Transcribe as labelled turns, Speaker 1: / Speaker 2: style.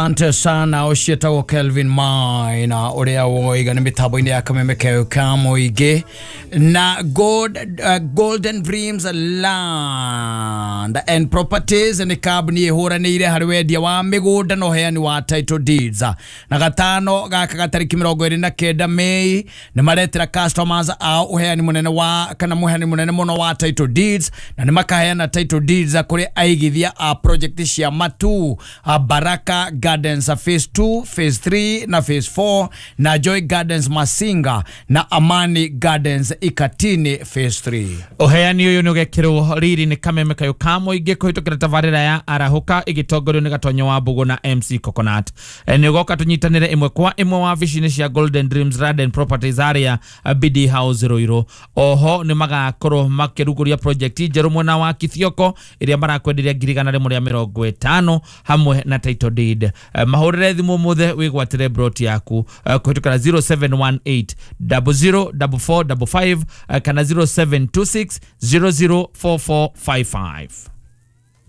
Speaker 1: Asante sana, ũcio Kelvin Maina ũrĩa woiga nĩ mĩtambo-inĩ ya Kameme keo ka mũingĩ na Golden Dreams Land and Properties nĩ kambuni ĩhũranĩire harĩ wendia wa mĩgũnda na ũheani wa title deeds. Na gatano gaka gatarĩki 29 Mei nĩ maretera customers ao ũheani mũnene wa kana mũheani mũnene mũno wa title deeds, na nĩ makaheana title deeds kũrĩ aigithia a project cia Matu, Baraka Gardens phase 2, phase 3 na phase 4, na Joy Gardens Masinga na Amani Gardens Ikatini phase 3.
Speaker 2: Ũheani ũyũ nĩ ũgekĩrwo riri nĩ Kameme kayũ ka mũingĩ kũhĩtũkĩra tabarĩra ya Arahũka ĩgĩtongorio nĩ Gatonyo wa Mbũgũ na MC Coconut. Nĩ ũgoka tũnyitanĩre ĩmwe kwa ĩmwe wabici-inĩ cia Golden Dreams Land and Properties arĩa BD House Ruiru. Oho nĩ magakorwo makĩrugũria project njerũ mwena wa Kithioko ĩrĩa marakwenderia 150,000 hamwe na title deed. Mahũrĩre thimũ ũmũthĩ wĩgwatĩre broti yaku kũhĩtũkĩra 0718 004455 kana 0726 004455.